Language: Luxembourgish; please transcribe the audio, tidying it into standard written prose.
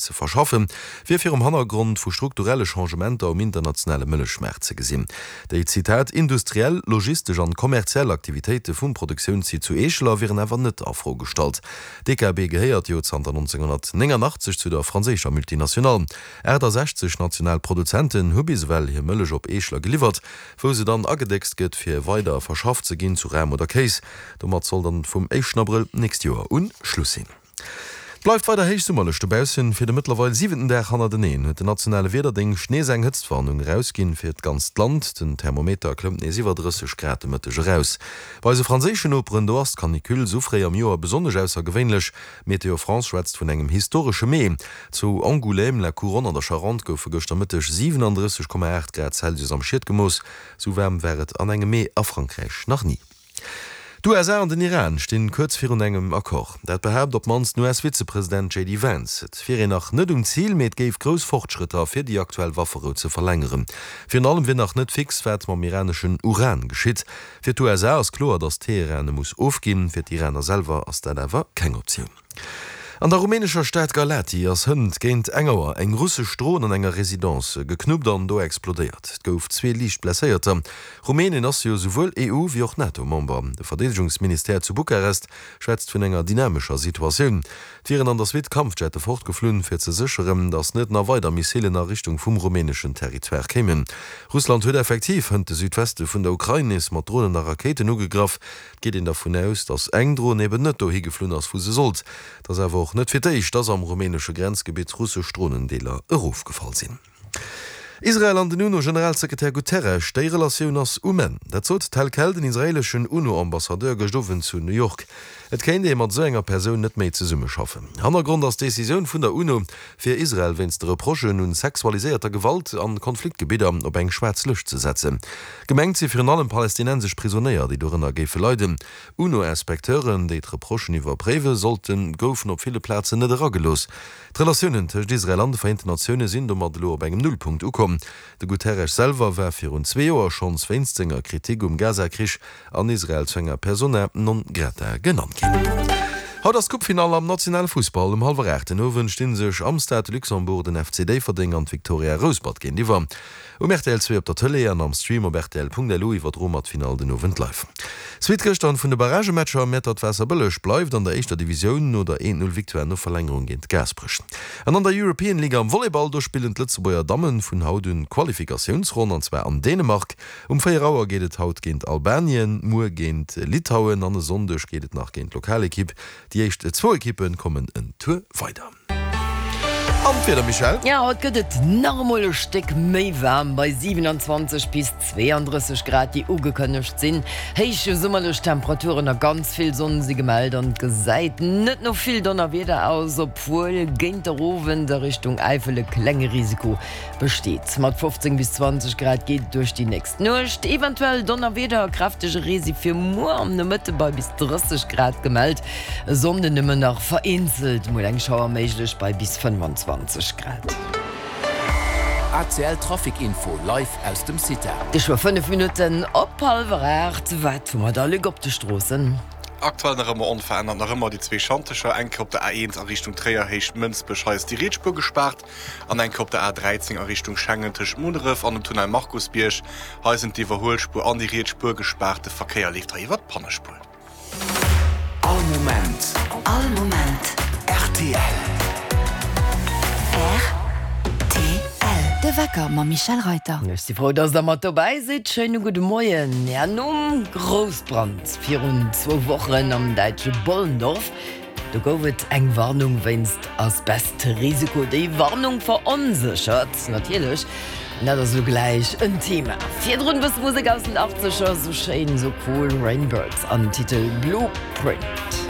ze verschaffen, wier virum Hannergrond vu strukturelle Changementer um internationale Mëllechmaart ze gesinn. Déi, Zitat, industriell, logistesch an kommerziell Aktivitéite vum Produktiounssite zu Eescheler wieren awer net a Fro gestallt. DKB gehéiert jo zanter 1989 zu der franséischer Multinationale. 68 national Produzenten hu bis ewell hir Mëllech op Eescheler geliwwert, wou se dann agedéckst gëtt fir weider verschafft ze ginn zu Ram oder Kéis. Domat soll dann vum éischten Abrëll d'nächst Joer un Schluss sinn. Et bleift weider héich summerlech dobaussen. Fir de mëttlerweil siwenten Dag hannerteneen huet den nationale Wiederdéngscht nees eng Hëtztwarnung erausginn fir d'ganzt Land. Den Thermometer klëmmt nees iwwer 30 Grad de Mëtteg eraus. Bei eise franséischen Noperen, do ass d'Canicule sou fréi am Joer besonnesch aussergewéinlech. Météo France schwätzt vun engem historesche Mee. Zu Angoulême, La Couronne an der Charente goufe gëschter Mëtteg 37,8 Grad Celsius am Schiet gemooss. Sou waarm war et an engem Mee a Frankräich nach ni. D'USA an den Iran stinn kuerz virun engem Accord. Dat behaapt op d'mannst den US-Vizepresident JD Vance. Et wier een nach net um Zil, mee et géif grouss Fortschrëtter fir déi aktuell Wafferou ze verlängeren. Virun allem wier nach net fix, wat mam iraneschen Uran geschitt. Fir d'USA ass kloer, datt Teheran e muss ofginn. Fir d'Iraner selwer ass dat awer keng Optioun. An der rumänescher Stad Galati ass hënt géint eng Auer eng russesch Dron an enger Residence geknuppt an do explodéiert. Et gouf zwee liicht Blesséierter. Rumänien ass jo souwuel EU wéi och NATO-Member. De Verdeedegungsministère zu Bukarest schwätzt vun enger dynamescher Situatioun. Et wieren an der Suite Kampfjette fortgeflunn, fir ze sécheren, datt net nach weider Missilen a Richtung vum rumäneschen Territoire kéimen. Russland huet effektiv hënt de Südweste vun der Ukrain nees mat Dronen a Rakéiten ugegraff. Et geet een dervun aus, datt eng Dron eben net dohi geflunn ass, wou se sollt. Et ass awer och net fir d'éischt, datt am rumänesche Grenzgebitt russesch Dronendeeler erofgefall sinn. Israel an den UNO-Generalsekretär Guterres, déi Relatioun ass um Enn. Dat sot tel quel den israeeleschen UNO-Ambassadeur gëscht Owend zu New York. Et kéint ee mat esou enger Persoun net méi zesummeschaffen. Hannergrond ass d'Decisioun vun der UNO, fir Israel wéinst de Reprochen un sexualiséierter Gewalt an Konfliktgebidder op eng schwaarz Lëscht ze setzen. Gemengt si virun allem palästinensesch Prisonéier, déi dorënner géife leiden. UNO-Inspecteuren, déi d'Reprochen iwwerpréiwe sollten, goufen op ville Plazen net eragelooss. D'Relatiounen tëscht Israel an de Vereenten Natioune sinn domat elo op engem Nullpunkt ukomm. De Guterres selwer war virun zwee Joer schonns wéinst senger Kritik um Gaza-Krich an Israel zu enger Persona non grata genannt ginn. Haut ass d'Coupefinall am nationale Fussball. Um hallwer 8 den Owend sti sech am Stade de Luxembourg den FC Déifferdeng an d'Victoria Rouspert géintiwwer. Um rtl 2 op der Tëlee an am Stream op rtl.lu iwwerdroe mer d'Finall den Owend live. Suite gëschter vun de Barragematcher, Mäertert-Waasserbëlleg bleift an der éischter Divisioun no der 1, 0 Victoire no Verlängerung géint Gaasperech. An an der European League am Volleyball, do spillen d'Lëtzebuerger Dammen vun haut un d'Qualifikatiounsronn an zwar an Dänemark. Um 4 Auer geet et haut géint Albanien, muer géint Litauen an e Sonndeg geet et nach géint d'Lokalekipp. Déi éischt zwou Ekippe kommen en Tour weider. An d'Wieder, Michèle? Jo, haut gëtt et nach emol e Stéck méi waarm, bei 27 bis 32 Grad, déi ugekënnegt sinn. Héich summerlech Temperaturen a ganz vill Sonn si gemellt an et gesäit net no vill Donnerwieder aus, obwuel géint der Owend a Richtung Äifel e klenge Risiko Besteet. Mat 15 bis 20 Grad geet et duerch déi nächst Nuecht. Eventuell Donnerwieder a kräftege Ree si fir muer am Nomëtte bei bis 30 Grad gemellt. E Sonnden nëmmen nach vereenzelt mol eng Schauer méiglech bei bis 25 Grad. ACL Trafic Info live aus dem CITA. Geschwë 5 Minutten op hallwer 8. Wat hu mer da, Luc, op de Stroossen? Aktuell nach ëmmer onverännert, nach ëmmer déi zwee Schantecher, eng Kéier op der A1 a Richtung Tréier, Héicht Mënsbech, hei ass déi riets Spuer gespaart. An eng Kéier op der A 13 a Richtung Schengen tëscht Munneref an dem Tunnel Markusbierg. Hei sinn d'Iwwerhuelspuer an déi riets Spuer gespaart. De Verkéier leeft hei iwwer d'Pannespuer. All Moment. All Moment. Rtl. Rtl. De Wecker mam Michèle Reyter. Ech si frou, dass der mat dobäi sidd. Schéine gudde Moien. Ja, nom Groussbrand virun zwou Wochen am däitsche Bollendorf, Do gouf et eng Warnung wéinst Asbestrisiko. Déi Warnung veronséchert natierlech, an dat ass elo gläich en Thema. Virdrun e bësse Musek aus den Achtzeger, sou schéin, sou cool, Rainbirds am Titel Blueprint.